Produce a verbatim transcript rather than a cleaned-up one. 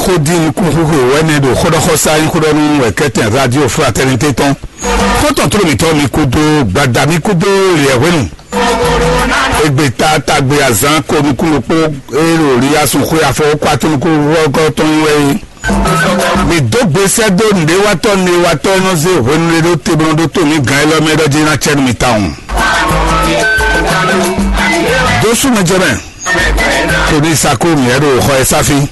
Ó dín nukúnxúxú wɛ̌nɛ ɖo xóɖɔxɔsá nyí xóɖɔnú wɛ kɛ́tɛn Radio Fraternité tɔn. Xɔ́ntɔn tló mǐtɔn mi kúdó gbada mi kúdó liɛ hwenu. Egbe ta tagbe azán ko nukún ɖokpó eye ɖo li asun xwé afɔ kó atún nukún wɔgɔ́ tɔn wɛ é. Mi dó gbe sɛ́ dó nǔɖéwatɔ́ nǔɖéwatɔ́ e nɔ zé hwenu ɖé ɖó te bó nɔ ɖótó mǐ gǎn élɔ́ mɛ ɖɔ jí ná cɛ́ nú mi tawun. Dó sú mɛ jɛ mɛ. Kò ní sakó mǐ ɛ ɖo xɔ ɛ sáfí.